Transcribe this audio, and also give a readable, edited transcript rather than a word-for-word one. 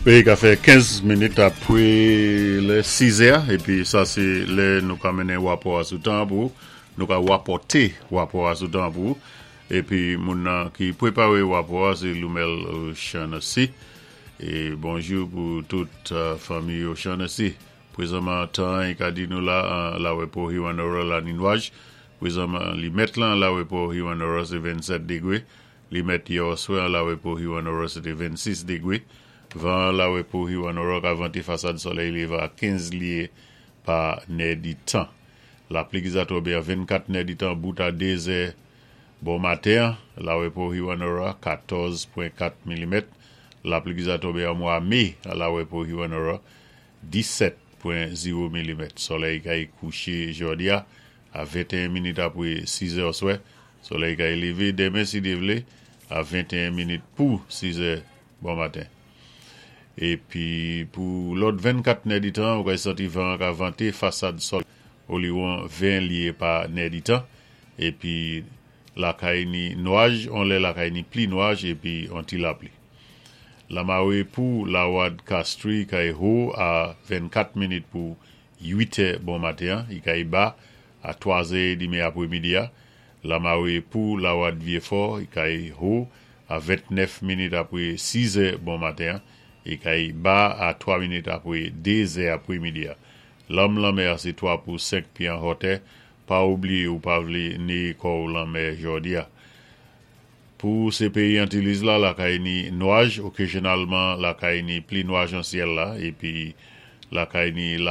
Wi, ka fè 15 minit apwé lè 6 è, épi sa sé lè nou ka mennen wapò a sou tan pou nou ka wapòté wapò a sou tan pou épi moun nan ki pwéparé wapò a sé Lumel O'Shaughnessy. É bonjou pou tout fanmi O'Shaughnessy. Pwézanman tan i ka di nou la an Lawèpo Hewanorra la ni nwaj. Pwézanman li mèt lan Lawèpo Hewanorra sé 27 dégwé. Li mèt yè oswè an Lawèpo Hewanorra sé té 26 dégwé. Van an Lawèpo Hewanorra ka vanté fasad solèy lévan a 15 lyé pa nè di tan. Lapli ki za tonbé an 24 nè di tan bout a 2 zè bon maten an Lawèpo Hewanorra 14.4 milimèt. Lapli ki za tonbé an mwa mé an Lawèpo Hewanorra 17.0 milimèt. Solèy kay kouché jòdi a a 21 minit apwé 6 è oswè. Solèy kay lévé denmen si Dye vlé a 21 minit pou 6 è bon maten. Épi pou lòt 24 nè di tan, ou kay santi van ka vanté fasad solèy oliwon 20 lyé pa nè di tan. Épi lakay ni nwaj, on lè lakay ni pli nwaj épi on ti lapli. Lamawé pou Lawad Castries kay ho a 24 minit pou 8 è bon maten, i kay ba a 3 zè édmi apwémidi a. Lamawé pou Lawad Vieux-Fort i kay ho a 29 minit apwé 6 è bon maten, i kay ba a 3 minit apwé 2 zè apwémidi a. Lanm lanmè a sé 3 pou 5 pyé an hotè, pa oubliyé ou pa vlé néyé kò ou lan mè jòdi a. Pou sé péyi Antilliz la, lakay ni nwaj, okazyonalman lakay ni pli nwaj an syèl la, épi lakay ni la